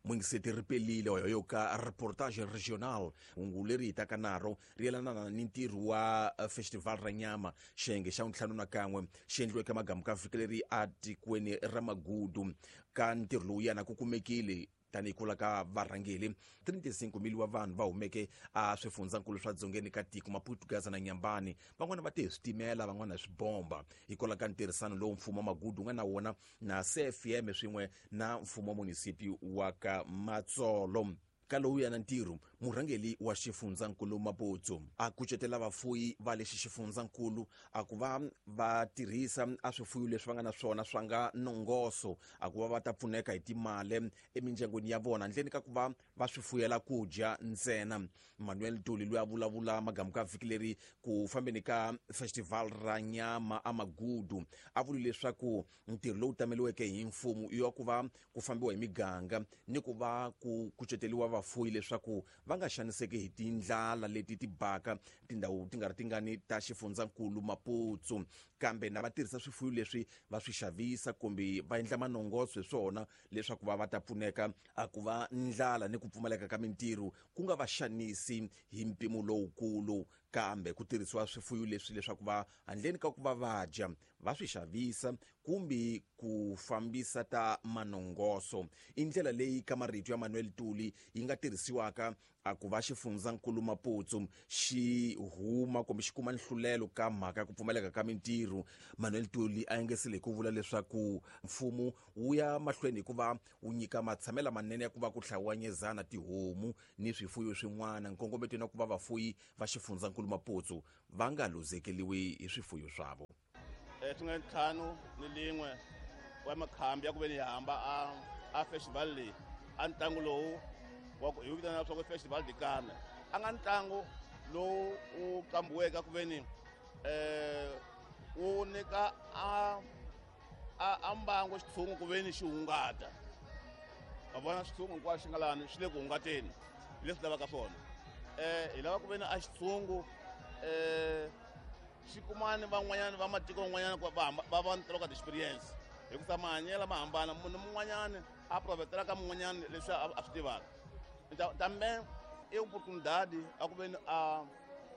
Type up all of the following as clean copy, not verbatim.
Mungiseti ri pelile yoyo ka reportage regional. Hungu leri hi taka naro ri yelana ni ntirho wa festival ra nyama, xiyenge xa 51 xi endliweke magamu ka vhiki leri a tikweni ra Magudu. Ka ntirho lowu yana ku kumekile tanihi kula ka varhangeli 35 mili wa vanhu va humeke a swifundzankulu swa dzongeni ka tiko Maputo, Gaza na Nyambani. Van'wana va te hi switimela, van'wana hi swibomba, hikwalaho ka ntirhisano lowu mfumo wa Magudu wu nga na wona na CFM swin'we na mfumo wa munisipi wa ka Matsolo. Ka lowu yana ntirho, murhangeli wa xifundzankulu Maputo a kucetela vafuyi va lexi xifundzankulu a ku va va tirhisa a swifuyo leswi va nga na swona swa nga nongoso, a ku va va ta pfuneka hi timali emindyangwini ya vona handleni ka ku va va swi fuyela ku dya ntsena. Manuel Tuli loyi a vulavula magamu ka vhiki leri ku fambeni ka festival ra nyama a Magudu a vuli leswaku ntirho lowu tameliweke hi mfumo i wa ku va ku fambiwa hi miganga ni ku va ku kuceteriwa vafuyi leswaku va nga xaniseki hi tindlala leti ti baka tindhawu ti nga ri tingani ta xifundzankulu Maputo, kambe na va tirhisa swifuyo leswi va swi xavisa kumbe va endla manongoso hi swona leswaku va va ta pfuneka a ku va ndlala ni ku pfumaleka ka mintirho ku nga va xanisi hi mpimo lowukulu, kambe ku tirhisiwa swifuyo leswi leswaku va handleni ka ku va va dya va swi xavisa kumbe ku fambisa ta manongoso. I ndlela leyi ka marito ya Manuel Tuli yi nga tirhisiwaka a ku va xifundzankulu Maputo xi huma kumbe xi kuma nhlulelo ka mhaka ya ku pfumaleka ka mintirho. Manuel Tuli a engesile hi ku vula leswaku mfumo wu ya mahlweni hi ku va wu nyika matshamelo lamanene ya ku va ku hlawanyezana tihomu ni swifuyo swin'wana, nkongometweni wa ku va vafuyi va xifundzankulu Maputo va nga luzekeliwi hi swifuyo swavo. Swi nga 51 wa makhambi ya ku ve ni hamba a festival leyi, a ntlangu lowu wa ku hi wu vitana leswaku festival de Carne, a nga ntlangu lowu wu qambiweke ku ve ni wu nyika a mbangu xitshungu ku ve ni xi hungata. Va vona xitshungu hinkwaswo xi nga lani xi le ku hungateni, hi leswi lavaka swona. Hi lava ku ve ni a xitshungu xi kumani van'wanyana va matiko van'wanyana ku va va va ni experience, hikusa mahanyelo ma hambana, munhu mun'wanyana a provetela ka mun'wanyana leswi a swi tivaka. Tambe i oportunidade a ku ve ni a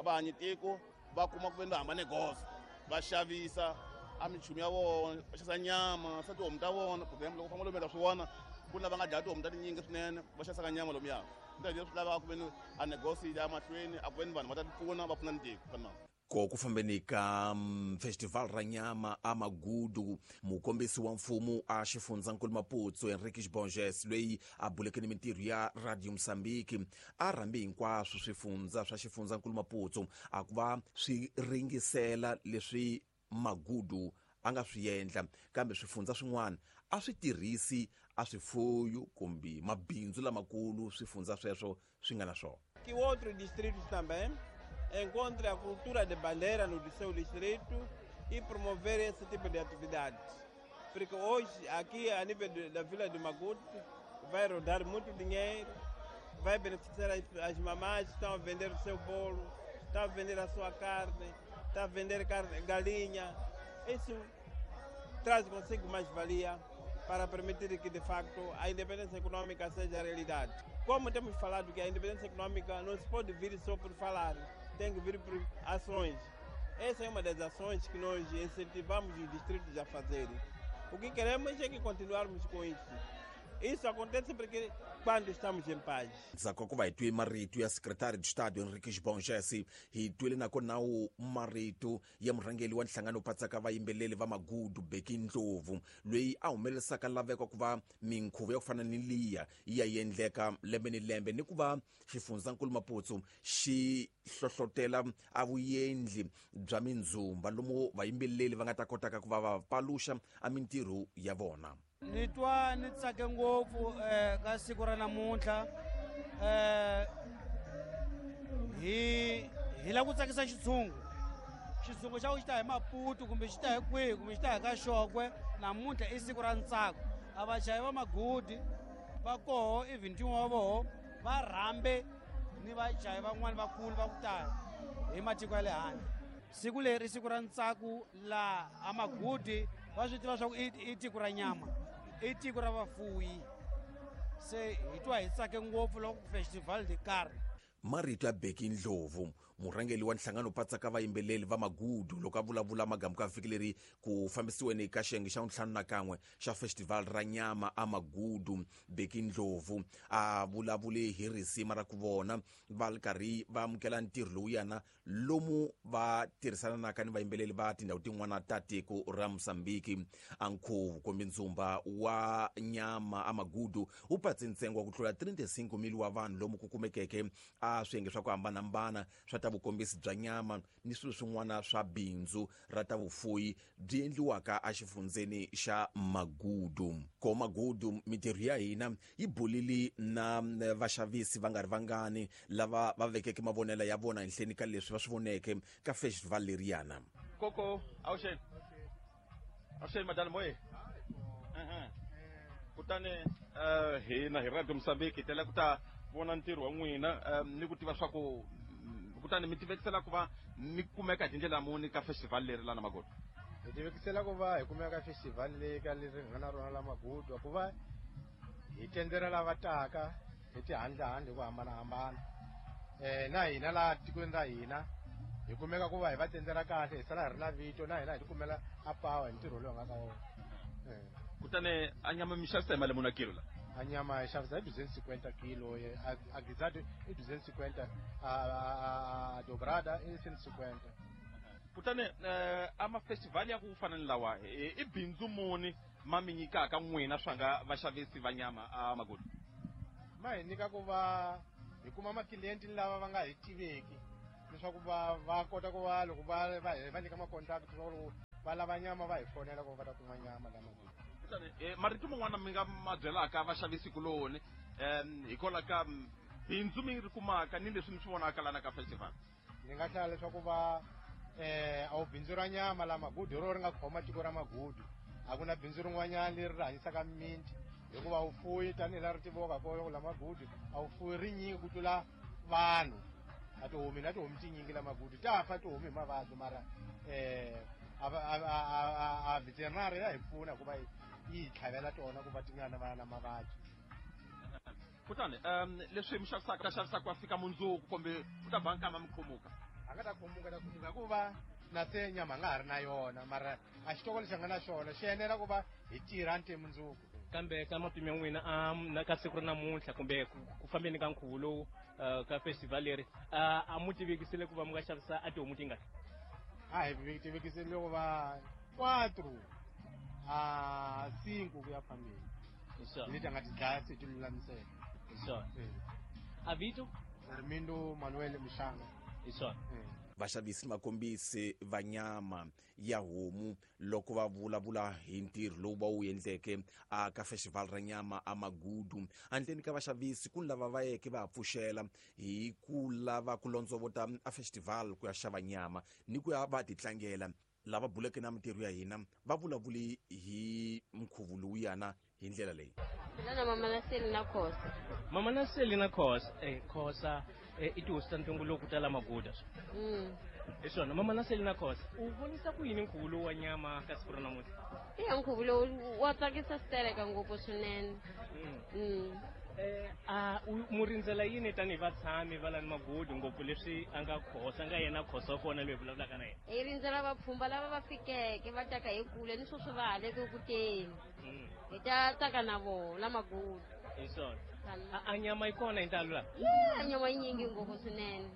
vahanyi tiko va kuma ku ve ni va hamba negoza va xavisa a minchumu ya vona, va xavisa nyama swa tihomu ta vona. For example, loko famba lomu ta swi vona ku na va nga dlaya tihomu ta tinyingi swinene, va xavisaka nyama lomuya. Leswi lavaka ku ve ni a negosi ya mahlweni, a ku ve ni vanhu va ta ti pfuna, va pfuna ni tiko fana. Ko ku fambeni ka festival ra nyama a Magudu, mukombisi wa mfumo a xifundzankulu Maputo Henriques Borges loyi a buleke ni mintirho ya Radio Mozambique a rhambi hinkwaswo swifundza swa xifundzankulu Maputo a ku va swi ringisela leswi Magudu a nga swi endla, kambe swifundza swin'wana a swi tirhisi a swifuyo kumbe mabindzu lamakulu swifundza sweswo swi nga na swona. Que outros distritos também encontrem a cultura de bandeira no seu distrito e promover esse tipo de atividade. Porque hoje, aqui a nível da Vila de Magude, vai rodar muito dinheiro, vai beneficiar as mamás que estão a vender o seu bolo, estão a vender a sua carne, estão a vender carne, galinha. Isso traz consigo mais-valia para permitir que, de facto, a independência econômica seja realidade. Como temos falado que a independência econômica não se pode vir só por falar, tem que vir por ações. Essa é uma das ações que nós incentivamos os distritos a fazerem. O que queremos é que continuarmos com isso. Isso acontece porque quando estamos em paz. Ndzhaku ka ku va hi twe marito ya secretary de Estado Henriques Borges, hi twile nakona wu marito ya murhangeri wa nhlangano patsaka vayimbeleri va Magudu Bheki Ndlovu loyi a humelerisaka laveko ku va minkhuvo ya ku fana ni liya yi ya endleka lembe ni lembe, ni ku va xifundzankulu Maputo xi hlohlotela a vuendli bya mindzumba lomu vayimbeleri va nga ta kotaka ku va va paluxa a mintirho ya vona. Ni twa ni tsake ngopfu ka siku ra namuntlha. Hi lava ku tsakisa xitshungu. Xitshungu xa ku xi ta hi Maputo kumbe xi ta hi kwihi kumbe xi ta hi ka Xokwe, namuntlha i siku ra ntsako. A vachayi va Magudi va koho, even ntin'we wa voho va rhambe ni vachayi van'wani vakulu va ku tala hi matiko ya le handle. Siku leri i siku ra ntsako laha a Magudi va swi tiva swa ku i tiko ra nyama, i tiko ra vafuyi. Se hi twa hi tsake ngopfu loko festival de carne. Marito ya Bheki Ndlovu, murhangeri wa nhlangano patsaka vayimbeleri va Magudu, loko a vulavula magamu ka vhiki leri ku fambisiweni ka xiyenge xa 51 xa festival ra nyama a Magudu. Bheki Ndlovu a vulavule hi risima ra ku vona va ri karhi va amukela ntirho lowuyana lomu va tirhisananaka ni vayimbeleri va tindhawu tin'wana ta tiko ra Mozambique. A nkhuvo kumbe ndzumba wa nyama a Magudu wu patse ntsengo wa ku tlula 35 mil wa vanhu lomu ku kumekeke a swiyenge swa ku hambanahambana swa ta vukombisi bya nyama ni swilo swin'wana swa bindzu ra ta vufuyi byi endliwaka exifundzeni xa Magudu. Ko Magudu, mintirho ya hina yi bulile na vaxavisi va nga ri vangani lava va vekeke mavonelo ya vona henhleni ka leswi va swi voneke ka festival leriyana. Koko, avuxeni. Avuxeni madala moye. Kutani hina hi Radio Mozambique hi tele ku ta vona ntirho wa n'wina ni ku tiva swa ku kutani mi tivekisela ku va mi kumeka hi tindlela muni ka festival leri lana Magudu. Hi tivekisela ku va hi kumeka ka festival leyi ka leri hi nga na rona la Magudu, ku va hi tendzela lava taka hi tihandlehande hi ku hambanahambana. Na hina laha tikweni ra hina hi kumeka ku va hi va tendzela kahle, hi sala hi ri na vito, na hina hi tikumela a power hi ntirho lowu hi nga ka wona. Kutani a nyama mi xavisa hi mali muni a kilo la? A nyama hi xavisa hi 250 kilo, a guisado i 250, a dobrada i 150. Kutani a ma-festival ya ku fana ni lawa i bindzu muni ma mi nyikaka n'wina swa nga vaxavisi va nyama a Magudu? Ma hi nyika ku va hi kuma maklienti lava va nga hi tiveki, leswaku va kota ku va loko va va nyika ma-contact leswaku loko va lava nyama va hi fonela ku va ta kuma nyama la Magudu. Kutani marito man'wana mi nga ma byelaka vaxavisi kuloni hikwalaho ka bindzu mi ri kumaka ni leswi mi swi vonaka lana ka festival? Ni nga hlaya leswaku va a wu bindzu ra nyama la Magudu ro ri nga khoma tiko ra Magudu, a ku na bindzu rin'wanyana leri ri hanyisaka mimiti, hikuva wu fuyi tanihi laha ri tiviwaka kona la Magudu, a wu fuyi rinyingi ku tlula vanhu. A tihomi na tihomi tinyingi la Magudu ta fa tihomi hi mavabyi, mara a veterinary ya hi pfuna hikuva yi hi tlhavela tona ku va ti nga na na mavabyi. Kutani leswi mi xavisaka ta xavisaka ku fika mundzuku kumbe ku ta ba nkama mi khumuka? A nga ta khumuka, ta khumuka hikuva na se nyama nga ha ri na yona, mara a xitoko lexi nga na xona xi enela ku va hi tirha nte mundzuku. Kambe ka matimu ya n'wina na ka siku ra namuntlha kumbe ku fambeni ka nkhuvo lowu ka festival leri, a mu tivekisile ku va mi nga xavisa a tihomu tingani? A hi tivekisile ku va 4 a 5 ku ya phambili. Leti a nga ti dlaya se ti lulamiseka. Hi swona. A vito? Armindo Manuel Mshanga. Hi swona. Vaxavisi makombisi va nyama ya homu loko va vulavula hi ntirho lowu va wu endleke a ka festival ra nyama a Magudu. Handleni ka vaxavisi ku lava va yeke va pfuxela hi ku lava ku londzovota a festival ku ya xava nyama ni ku ya va titlangela. Lava buleke na mintirho ya hina va vulavuli hi nkhuvo lowuyana hi ndlela leyi. Mina na mama na Seli na Khosa. Mama na Seli na Khosa. Khosa i tihosi ta ntumbuluko ta la Magudu. Hi swona, mama na Seli na Khosa. U vonisa ku yini nkhuvo lowu wa nyama ka siku ra namuntlha? Iya, nkhuvo lowu wa tsakisa switereka ngopfu swinene. A mu rindzela yini tanihi vatshami va lani Magudu, ngopfu leswi a nga Khosa, a nga yena Khosa wa kona loyi hi vulavulaka na yena? Hi rindzela vapfhumba lava va fikeke va taka hi kule ni sweswi va ha le ku teni. Hi ta tsaka na vona la Magudu. Hi swona. A nyama yi kona hi ntalo laha? Yeah, a nyama yi nyingi ngopfu swinene.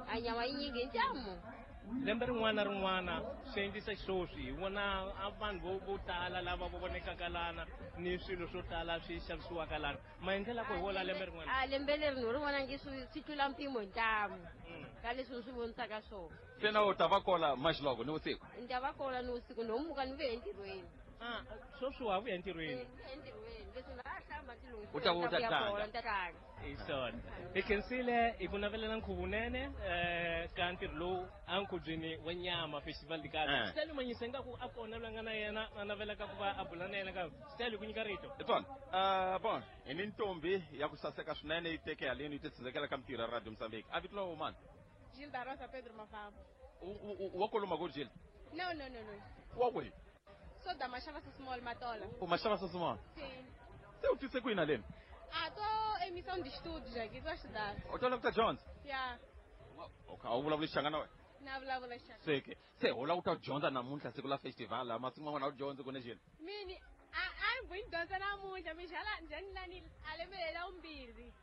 A nyama yi nyingi hi ntamu. Lembe rin'wana na rin'wana swi endlisa xisweswi, hi vona a vanhu vo tala lava va vonekaka lana ni swilo swo tala swi xavisiwaka lana. Maendlelo ya ku hi wona lembe rin'wana? A lembe leri ni ri vona nge swi tlula mpimo hi ntamu ka leswi ni swi vonisaka swona. Se na u ta va kona maxiloko ni vusiku? Ni ta va kona ni vusiku, no muka ni vuya entirhweni. Sweswi wa vuya entirhweni? Ni vuya entirhweni, leswi na hlamba ti lunghisa. U ta vuya u ta Ni ta vuya tlanga. kona, ni ta tlanga. Hi swona. Hi khensile hi ku navelela nkhuvo wunene ka ntirho lowu a nkhubyeni wa nyama festival de Gala. Style Manyisa ingaku a kona loyi a nga na yena a navelaka ku va a bula na yena ka Style ku nyika rito. Hi swona. Bon, hi ni ntombi ya ku saseka swinene yi teke haleni yi titshundzekela ka mintirho ya Radio Mozambique. A vito la wena mani? Gilda Rosa Pedro Mafambo. Wa kwalomu ko Gilda? No, no, no, no. Wa kwihi? So da Mashava Small Matola. U Mashava Small? Sim. Se u tise kwini haleni? Ah, tô em missão de estudos aqui, tô a estudar. U twa ku ta dyondza? Yeah. Okay, a wu vulavuli Xichangana wena? Na vulavula Xichangana. Se ke se u lava ku ta dyondza namuntlha siku la festival la masiku man'wana a wu dyondzi ku ne xini? Mini a ni vuyi dyondza namuntlha mi xala njhani lani a lembe lela vumbirhi.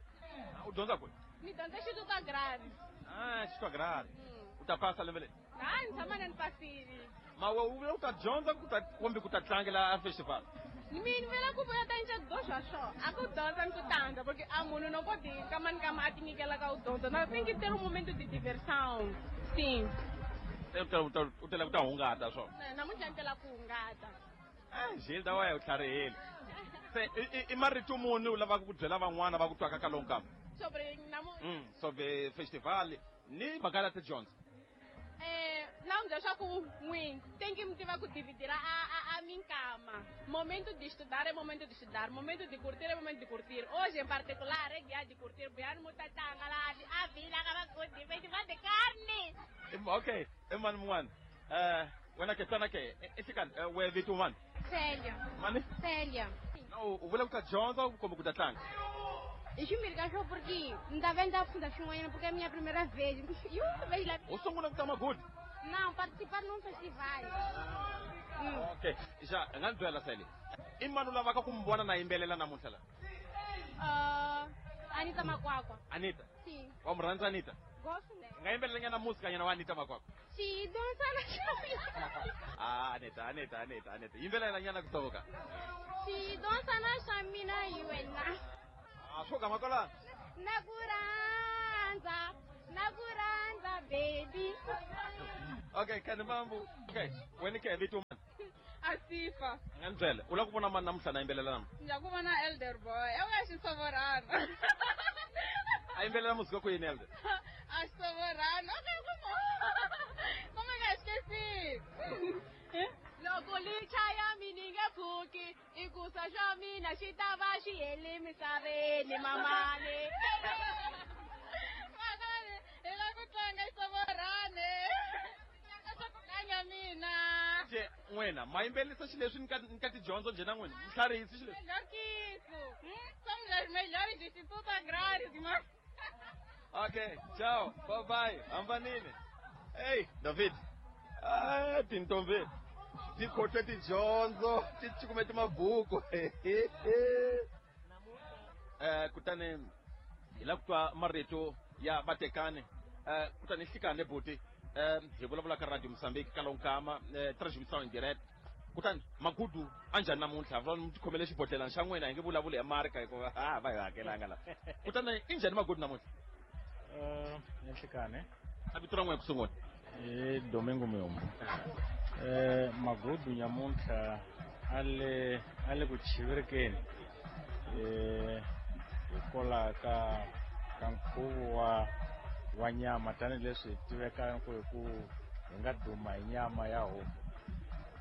U dyondza kwihi? Ni dyondza Xituka Grade. Ah, Xituka Grade. U ta pasa lembe leri? Ha, ni tshama na ni pasile. Ma we u vula ku ta dyondza ku ta kumbe ku ta tlangela a festival? Mina vela ku vuya ta nca do swa swo. A ku dyondza ni ku tandza porque a munhu no koti nkama ni nkama a ti nyikela ka u dyondza. Na tem que ter um momento de diversão. Sim. Se u tela ku ta hungata swo. Namuntlha ni tela ku hungata. Eh, Gilda wa ya u tlharihile. Se i marito muni u lavaka ku byela van'wana va ku twaka ka lowu nkama? Sobre namu Sobre festival ni mhaka ya tidyondzo. Na n'wi byela swa ku n'wini tem que mi tiva ku dividira a minkama. Momento de estudar é momento de estudar, momento de curtir é momento de curtir. Hoje em particular é dia de curtir, buyani mutatanga la a vila ka magudi festival de carne. Okay, i mani mun'wana? Wena ke tana ke i xikani we vito mani? Célia. Mani? Célia. No, u vula ku ta dyondza kumbe ku ta tlanga? I swimbirhi ka swo porque ni ta va ni ta funda swin'wanyana porque é minha primeira vez. Vez lá. U sungula ku ta Magudi? Não, participar num festival. Okay, ja i nga ni byela Célia. I mani u lavaka ku mi vona na yimbelela namuntlha la? Anita Makwakwa. Anita? Sim. Wa mu rhandza Anita? Gosto dela. U nga yimbelela nyana musika nyana wa Anita Makwakwa? Sim, dança na chave. Ah, Anita, Anita, Anita, Anita. Yimbelela nyana kusoka. Sim, dança na chamina e wena. Ah, swo gama kwalano. Nakuranza, nakuranza baby. Okay, kani mambu. Okay, wena ke vito mani? Asifa. Nga ni byela, u lava ku vona mani namuntlha na yimbelela namuntlha? Ni lava ku vona Elder Boy. E wa xisovorana. A yimbelela musika ku yini Elder? A xisovorana. Okay, como nga esqueci. Loko li chaya mina nge pfuki, i ku sa xa mina xi ta va xi hele misaveni mamani. Mamani, hi lava ku tlanga xisovorana. Swa ku kanya mina. Nje n'wina ma yimbelisa xileswi ni ka tidyondzo njhe na n'wina? Mi tlharihisi xileswi? Melhor que isso. Somos as melhores do Instituto Agrário de Mar. Okay, ciao, bye bye, hambanile. Hey, David. Ah, tintombi. Ti khohlwe tidyondzo, ti cukumete mabuku. Kutani hi lava ku twa marito ya vatekani. Kutani hlikani buti. Hi vulavula ka Radio Mozambique ka lonkama, transmission en direct. Kutani Magudu a njhani namuntlha? Va mi tikhomele xibodhlelana xa n'wina, hi nge vulavuli hi marka hikuva va hi hakelanga la. Kutani i njhani Magudu namuntlha? Nhlikani. A vito ra n'wina ku sungula? I Domingo Muyumbu. Magudu nyamuntlha a le ku chivirikeni hikwalaho ka nkhuvo wa nyama tanihileswi hi tivekaka ku hi nga duma hi nyama ya homu,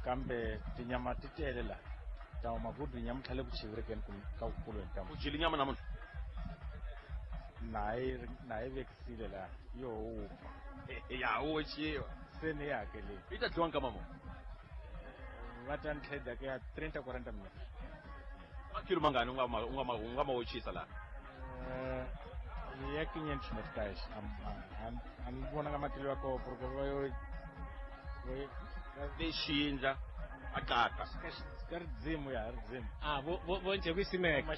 kambe tinyama ti tele la. Ta Magudu nyamuntlha le ku chivirikeni ka kukulweni ta U dyile nyama namuntlha? Na yi vekisile la yo wupfa. Ya oxiwa. Se ni yi hakelile. Yi ta dyiwa nkama muni? Va ta ni tlhela ku ya 30-40 minutes. Makilo mangani u nga ma oxisa laha? Ya 500 meticais. A ni vonanga matilo ya koho porque va yo lexindla a qaka. Ka ridzimu ya ridzimu. Ah, vo nje ku simeka.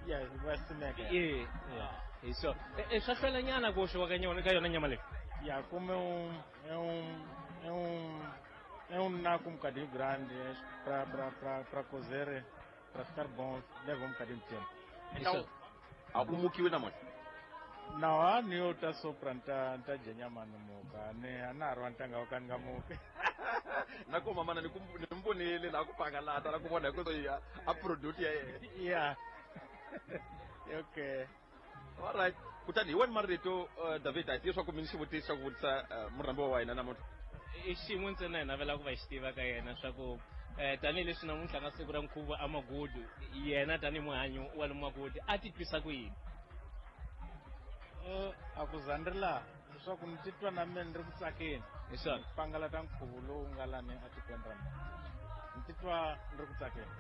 Ya va simeka. Eh, hi so. Swa hlwela nyana ku oxiwa ka yona ka yona nyama leyi. Ya como é um naco um bocadinho grande para cozer, para ficar bom, leva um bocadinho de tempo. Então, a ku mukiwe namuntlha? Não, a ni yo ta sopra nta dya nyama ni muka. Ni a na ha ri wa ntanga wa ka ni nga muki. Na ku mamana ni mi vonile laha ku pangalata la ku vona hi ku a product ya yena. Yeah. Okay. All right. Kutani hi wena marito David, a hi tivi swa ku mi ni xivutiso xa ku vutisa murhambiwa wa hina namuntlha. I xin'we ntsena hi navela ku va xi tiva ka yena swa ku tanihileswi namuntlha nga siku ra nkhuvo a Magudu, yena tanihi muhanyi wa le Magudu a titwisa ku yini? A ku za ni ri laha leswaku ni titwa na mina ni ri ku tsakeni. Hi swona. Pangalata nkhuvo lowu nga lani etikweni ra mina. Ni titwa ni ri ku tsakeni.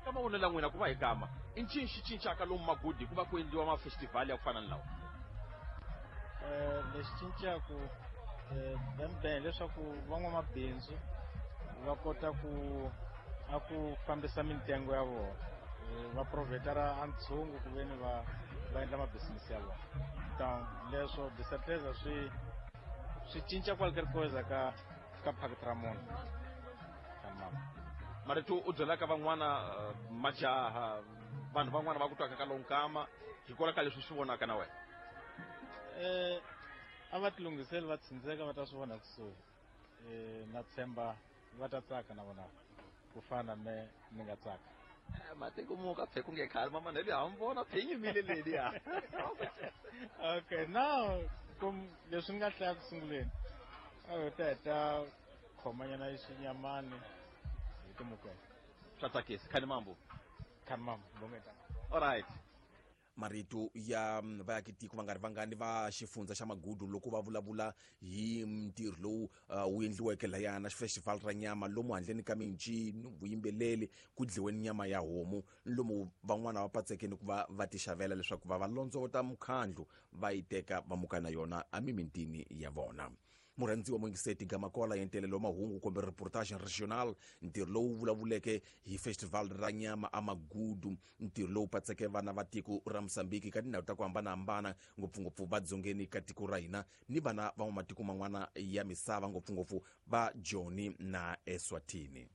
Ka mavonelo ya n'wina, ku va hi gama, i ncini xi cincaka lomu Magudi ku va ku endliwa mafestivhali ya ku fana ni lawa? Lexi cincaku bembe hileswaku van'wamabindzu va kota ku a ku fambisa mintengo ya vona, va provetara a ntshungu ku veni va endla mabisinisi ya vona. Donc leswo de certeza swi cinca qualquer coisa ka phakiti ra munhu. Marito u byelaka van'wana, majaha, vanhu van'wana va ku twaka ka lonkama hikwalaho ka leswi swi vonaka na wena? A va tilunghiseli, va tsindzeka, va ta swi vona kusuhi. Na tshemba va ta tsaka na vona ku fana me ni nga tsaka. Matiko muka phe ku nge khale mama neli ha mi vona phe yimile leliya. Okay, now kum leswi ni nga hlaya ku sunguleni, a hi ta heta khomanyana xinyamani hi timukela. Swa tsakisa. Khani mambo. Khani mambo bongeta. All right. Marito ya vaakitiko va nga ri vangani va xifundza xa Magudu loko va vulavula hi ntirho lowu wu endliweke layana festival ra nyama, lomu handleni ka mincino, vuyimbeleri, ku dliweni nyama ya homu, lomu van'wana va patsekeni ku va va ti xavela leswaku va va londzovota mukhandlu, va yi teka va muka na yona emimitini ya vona. Murhandziwa muyingiseti, gamakola ya ntelelo wa mahungu kumbe reportage regional, ntirho lowu vulavuleke hi festival ra nyama amagudu, ntirho lowu patseke vana va tiko ra Mosambiki ka tindhawu ta ku hambanahambana, ngopfungopfu va dzongeni ka tiko ra hina ni vana va matiko man'wana ya misava, ngopfungopfu va Joni na Eswatini.